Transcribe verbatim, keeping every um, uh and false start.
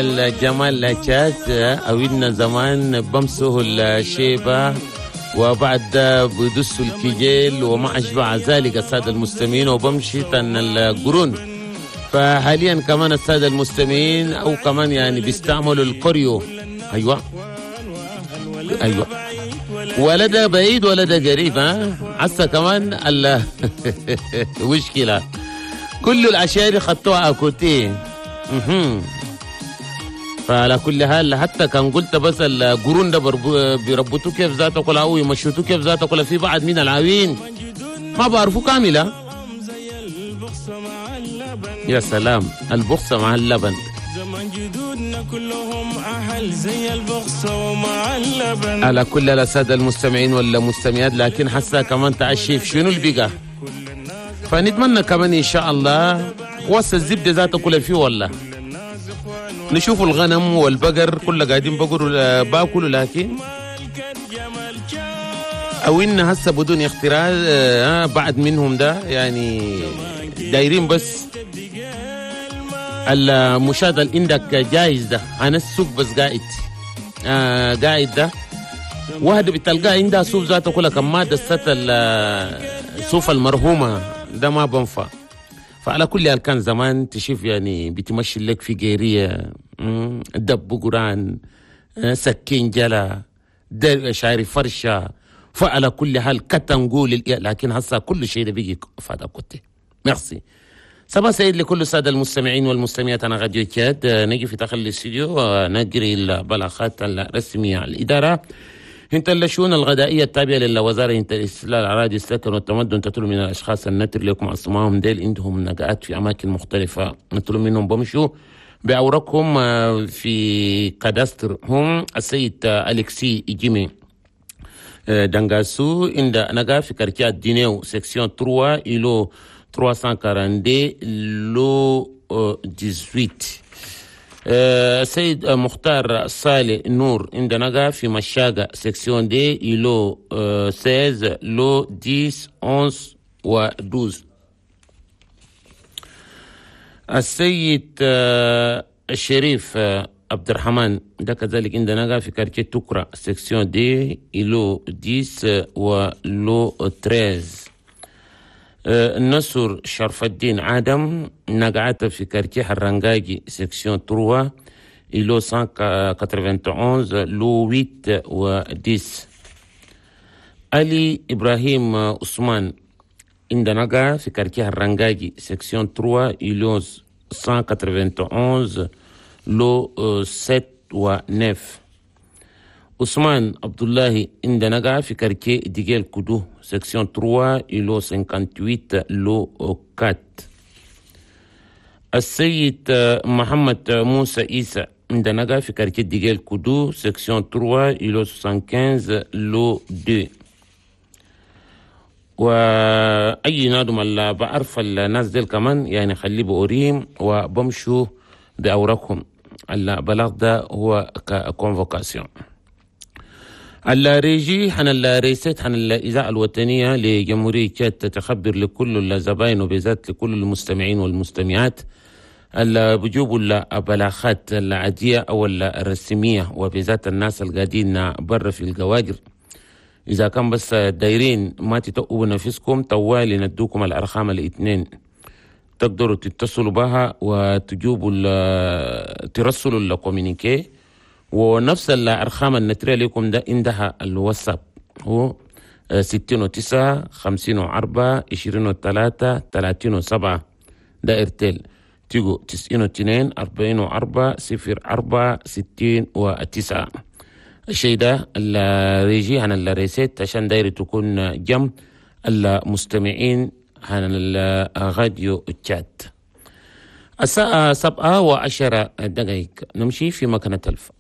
الجمال تشاد أويلنا زمان بمسه الشيبة وبعد بدسوا الكجيل وما أشبع ذلك السادة المستمعين وبمشي تن القرون. فحاليا كمان السادة المستمعين أو كمان يعني بيستعملوا الكوريو. أيوة أيوة، ولا ده بعيد ولا ده قريب، ها عسى كمان ال مشكلة كل الأشياء خطوها أكوتي. فعلى كل حال حتى كان قلت بس القرون ده بيربطوه كيف ذاته كلها أو يمشوتوه كيف ذاته كلها، في بعض من العوين ما بعرفوا كاملة. يا سلام، البخصة مع اللبن. زمان جدودنا كلهم أهل زي البخصة ومع اللبن. على كل السادة المستمعين والمستمعات، لكن حسا كمان تعشيف شنو البقى، فنتمنى كمان إن شاء الله وصل الزبدة ذاته كلها فيه والله. نشوف الغنم والبقر كله قاعدين بقروا باكلوا، لكن او ان هسه بدون اختراع بعد منهم ده يعني دايرين بس المشاهد اللي عندك جايز ده انا السوق بس قاعد آه قاعد ده واحد بتلقاه عندها سوق ذاته كلها كم دست السوف المرهومه ده ما بنفع. فعلى كل حال كان زمان تشوف يعني بتمشي لك في جيرية دب قران سكين جلا شعري فرشة. فعلى كل حال كتنقول، لكن هسا كل شيء ده بيجي فادا كنت. ميرسي صباح سعيد لكل السادة المستمعين والمستمعات. أنا راديو تشاد نجي في داخل الاستوديو ونجري البلاغات الرسمية على الإدارة انت الشؤون الغذائية التابعة للوزارة انت الاستقلال الأراضي السكن والتمدن تطلب من الأشخاص النتر لكم أسمائهم ديل عندهم نقعات في أماكن مختلفة نطلب منهم بمشوا بأوراقهم في cadastre هم السيد أليكسي جيمي دانغاسو عند نقا في quartier دينيو section ثلاثة îlot ثلاثمية واثنين وأربعين lot ثمانية عشر. السيد مختار صالح نور عندنا في مشاقة section deux îlot ستة عشر lot عشرة إحدى عشر و اثنا عشر. السيد الشريف عبد الرحمن ده كذلك عندنا في quartier توكرا section deux îlot عشرة و lot ثلاثة عشر. نصر شرف الدين عادم نقعت في quartier حرنقاجي section ثلاثة îlot مية واحد وثمانين lot ثمانية و عشرة. علي إبراهيم عثمان عندنا نقع في quartier حرنقاجي section ثلاثة îlot مية وثمانية وتسعين lot سبعة و تسعة. عثمان عبد الله عندنا نقع في quartier ديجيل كودو section ثلاثة îlot ثمانية وخمسين lot أربعة. السيد محمد موسى عيسى عندنا نقع في quartier ديجيل كودو section ثلاثة îlot خمسة وستين lot اثنين. واي نادم اللي بعرف الناس ديل كمان يعني خليه بوريم وبمشوا باوراقهم. البلاغ ده هو ك convocation. الريجي حن الريسيت حن الإذاعة الوطنية لجمهورية تشاد تتخبر لكل الزباين وبالذات لكل المستمعين والمستمعات اللي بيجيبوا البلاغات العادية أو الرسمية وبالذات الناس القاعدين برا في الجواجر. إذا كان بس دايرين ما تتقوا نفسكم طوالي ندوكم الأرقام الاثنين تقدروا تتصلوا بها وتجيبوا ترسلوا ال communiqué، ونفس الأرقام النترية لكم ده عندها الواتساب هو ستين وتسعة خمسين وأربعة عشرين وثلاثة ثلاثين وسبعة ده إرتيل تيجو تسعين واثنين أربعين وأربعة صفر أربعة ستين وتسعة. الشيء ده ال régie عن ال recette عشان دايرة تكون جم المستمعين عن الراديو تشاد. الساعة سبعة وعشرة دقائق نمشي في مكانة الف.